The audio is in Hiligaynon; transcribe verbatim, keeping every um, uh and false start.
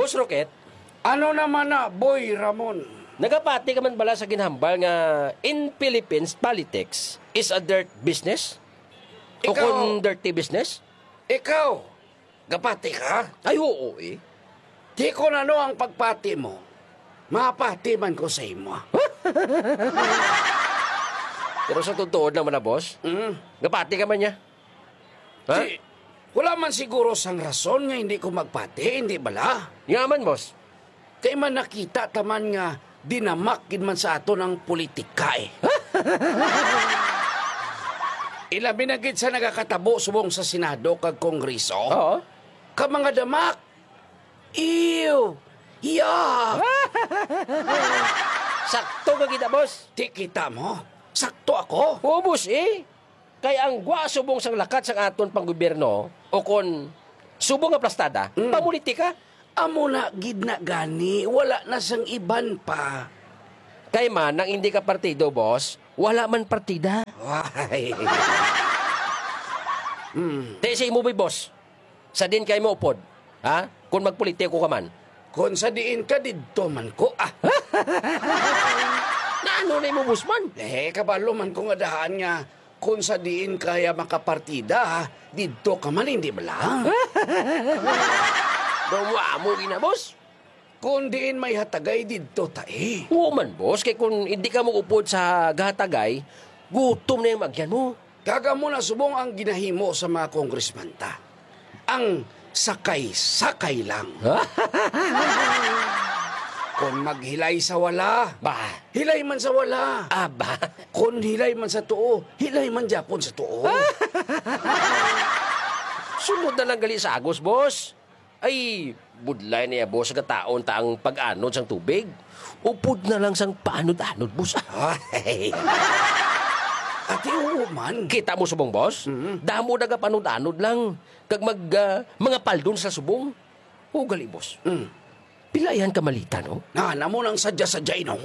Boss Rocket, ano naman na, Boy Ramon? Nagapati ka man bala sa ginhambal nga in Philippines, politics is a dirt business? O Ikaw, kung dirty business? Ikaw, gapati ka? Ay, oo eh. Di ko na no ang pagpati mo. Mapati man ko sa imo. Pero sa totoo naman na, boss, Mm. gapati ka man niya. Ha? Di, wala man siguro sang rason nga hindi ko magpati, hindi bala? Nga man, boss. Kay man nakita ta man nga dinamak gid man sa aton ang politika, eh. Ilabi na gid sa nagakatabo subong sa Senado kag Kongreso. Oo. Ka mga damak. Ew. Yeah. Sakto ka kita, boss. Di kita mo. Sakto ako. Oo, boss, eh. Kay ang gwa subong sang lakat sang aton panggobyerno, o kon subong nga plastada, Mm. pamulitika. Amo na gid na gani, wala na sang iban pa. Kay man, ang hindi ka partido, boss, wala man partida. Why? Hmm. Te, sa imo, boy, boss, sa din kay mo upod, ha? Kung magpolitiko ka man. Kung sa diin ka, didto man ko, ah. Naano na imo, boss, man? Eh, kabalo man ko nga dahan nga kung sa diin kaya makapartida, didto ka man, hindi bala? Daw mo amo gina, boss. Kung diin may hatagay, didto ta, eh. Oo man, boss. Kay kung hindi ka mo upod sa gahatagay, gutom na yung magyan mo. Kag amo na subong ang ginahimo sa mga kongresman ta. Ang sakay-sakay lang. Kung maghilay sa wala, Ba? hilay man sa wala. Aba. Kung hilay man sa tuo, hilay man gyapon sa tuo. Sunod na lang gali sa agos, boss. Ay, budlay niya, boss, nga taon ta ang pag-anod sang tubig. Upod na lang sang paanod-anod, boss. Ay. Ati, oo man. Kita mo subong, boss? Mm. Damo nagapanod-anod lang. Kag mag, ah, mga paldon sa subong. O, gali, boss. Mm. Pila yan ka malita, no? Na, namo nang sadya-sadya, no?